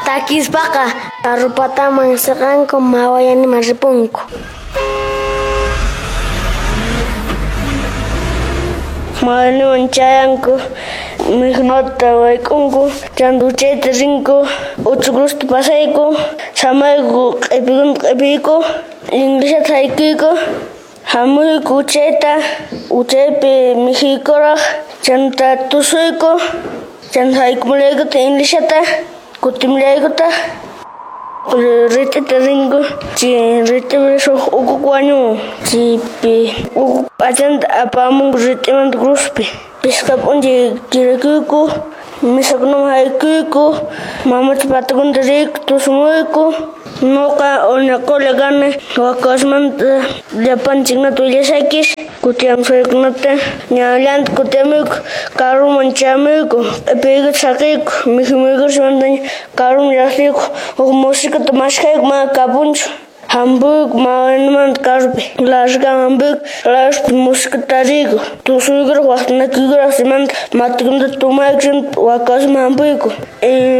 Takispaqa karrupataman siqanku mawayaniman ripunku. Mawayaniman chayanku, mikhunata wayk'unku, chanta uchayta rinku, uchukusta pasayku, samayku q'ipikuna q'ipiyku, inglesata haykuyku, hamuyku uchayta, uchaypi mikhuykuraq, chanta tusuyku, chanta haykumullaykutaq inglesata, kutimullaykutaq. Rit'ita rinku, chay rit'ipi huk ukuku wañun, chaypi ukuku p'achanta apamunku rit'imanta cruzpi. Pisqa p'unchay kirakuyku, misakunaman haykuyku, mamacha patakunata riyku, tusumuyku. Nuqa unaqulla kani wakasmanta llapanchiknata willasakis, kutiyamusqaykunata ñawillanta kutiyamuyku, karuman chamuyku, q'ipiykuta saqiyku, mikhumuykusmantaña karuman llaqtiyku, huk musikata maskhayku mana kapunchu. Hampuyku mawanimanta karupi, largan hampuyku, largaspa musikata tariyku, tusuykuraq waqtanakuykuraq simanta matikunata tumayku wakasman hampuyku.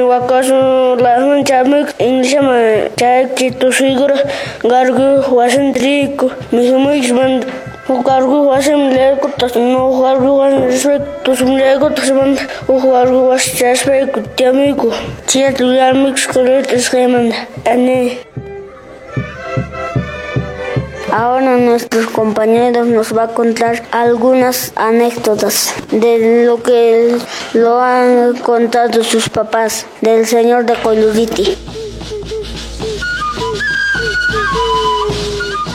Wakasman largan chamuyku, inglesaman chayayku chay tusuykuraq gargu wasinta riyku, mikhumuykusmanta huk gargu wasiman llaykutaq, huk gargu wasiman rispayku tusumullaykutaq simanta huk gargu wasi chayaspayku tiyamuyku. Chayta willarmuyku escuelata risqaymanta. Ani. Ahora nuestros compañeros nos va a contar algunas anécdotas de lo que lo han contado sus papás del señor de Qoyllurriti.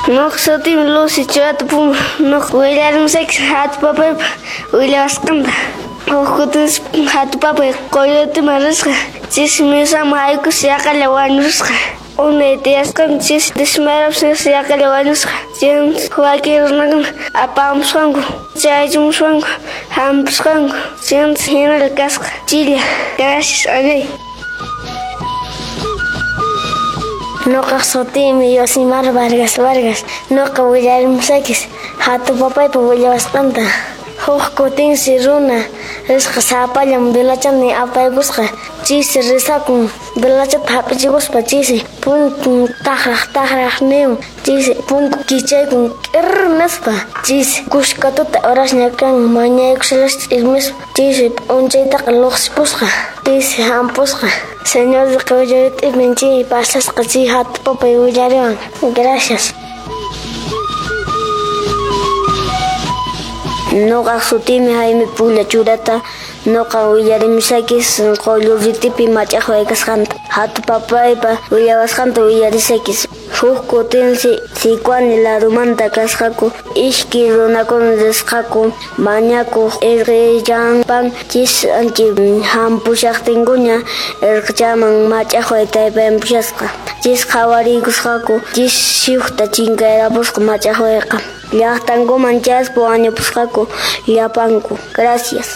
Nuqa sutiymi Lucy Churata Puma. Nuqa willarimusayki hatu papaypa willawasqanta. Huk kutinsi hatu papay Qoyllurritiman risqa. Chaysi misaman haykuspa yaqalla wañurusqa. Unay tiyasqanta chaysi desmayarapis yaqalla wañusqa. Chaymi wakin runakuna apamusqanku, chaychimusqanku, hampisqanku. Chaymi hinalla kasqa. Chilla. Gracias, Anay. Nuqa sutiymi Yosimar Vargas Vargas. Nuqa willarimusakis hatu papaypa willawasqanta. Huk kutinsi runa risqa sapallan velachani apaykusqa. Chaysi risakun velachata hap'ichikuspa chaysi punkun taqraq taqraq niwan. Chaysi punku kichaykun k'irr nispa. Chaysi kuska tuta horasña kan mañaykushallaspis ch'ismispa. Chaysi p'unchaytaqa luqsipusqa. Chaysi hampusqa. Señor de Qoyllurritipin chay pasasqa chay hatu papay willariwan. Gracias. Nuqa sutiymi Jaime Puglla Churata. Nuqa willarimusakis Qoyllurritipi mach'aqway kasqanta. Hatu papaypa willawasqanta willarisakis. Huk kutinsi Sicuani larumanta kasqaku iskay runakuna risqaku mañakuq irqillanpan chis anchi hampushaqtinkuña irqichaman mach'aqway taypayampusasqa. Chis qhawariykusqaku chis siuqta chinkayrapusqa mach'aqwayqa. Llaqtankuman chayaspa wañupusqaku llapanku. Gracias.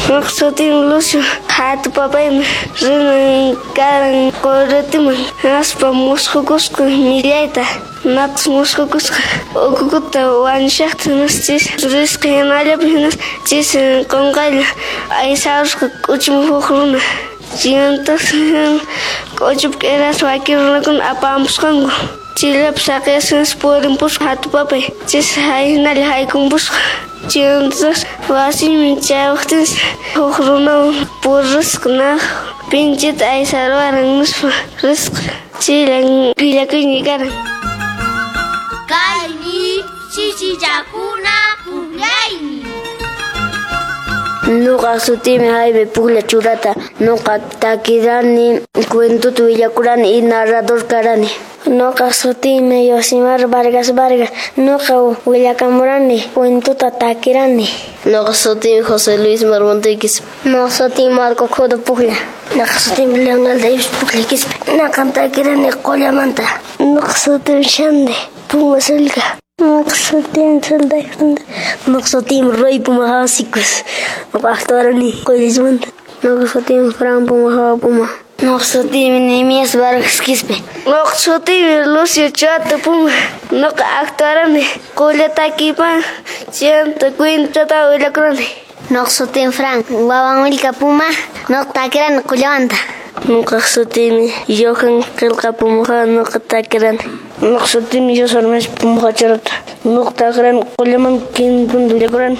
Nuqa sutiymi Lucio. Hatu papaymi rinan karan Qoyllurritiman. Hinaspa musqhukusqa millayta. Napas musqhukusqa ukukuta wañushaqta hinaspa chaysi risqa hinallapi hinaspa chaysi qunqaylla aysarusqa k'uchiman huk runa. Chaymantapas k'uchupi k'iraspa wakin runakuna apamusqanku. Chayllapi saqiyasqa hinaspa purimpusqa hatu papay. Chaysi hinalla haykumpusqa. Chaymantapas wasinman chayawaqtinsi huk runawan purisqa naq pinchita aysaruwaran nispa risqa. Chayllan willakuyniy karan. Kaymi chichichakuna pukllaymi. Nuqa sutiymi Jaime Puglla Churata. Nuqa takirani, cuentuta willakurani y narrador karani. Nuqa sutiymi Yosimar Vargas Vargas. Nuqa willakamurani, cuentuta takirani. Nuqa sutiymi José Luis Marmontequis. Nuqa sutiymi Marco Codo Puglla. Nuqa sutiymi Leonel Davis Puglla Quispe. Nuqa takirani Qollamanta. Nuqa sutiymi Shande Puma Sulca. Nuqa sutiymi Solda. Nuqa sutiymi Roy Puma Hawasikus. Nuqa actuarani Qoyllurritimanta. Nuqa sutiymi Fran Puma Hawa Puma. Nuqa sutiymi Nehemías Vargas Quispe. Nuqa sutiymi Lucio Chato Puma. Nuqa actuarani Qulla takiypa chayanta cuentata willakurani. Nuqa sutiymi Fran Wawanwillka Puma. Nuqa takirani qullawanta. Nuqa sutiymi Johan Qillqa Pumuqa nuqa takirani. Nuqa sutiymi José Hermes Pumuqa Charata. Nuqa takirani qullaman quintun willakurani.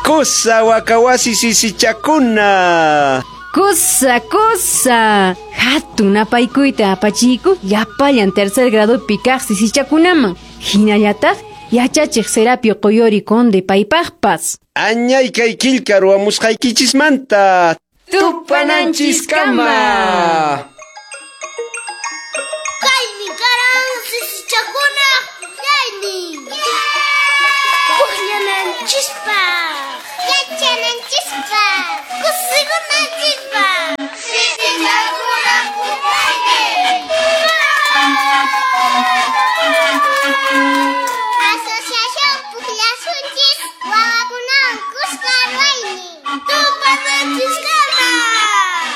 Kusa wakawasi sisichakuna. Kusa, kusa. Hatun napaykuyta apachiyku llapallan tercer gradopi kaq sisichakunaman. Hinallataq yachachiq Serapio Qoyori Conde paypaqpas. Añay kay killka ruwamusqaykichismanta. Tupananchiskama. Kaymi karan sisichakuna pukllaynin. Pukllananchispaq, yachananchispaq, kusikunanchispaq. Sisichakuna pukllaynin. Asociación Pukllasunchis wawakunawan kuska ruwaynin. Tupananchiskama.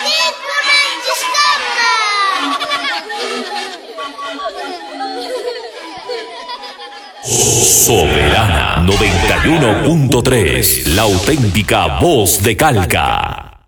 Rikunanchiskama. Soberana 91.3, la auténtica voz de Calca.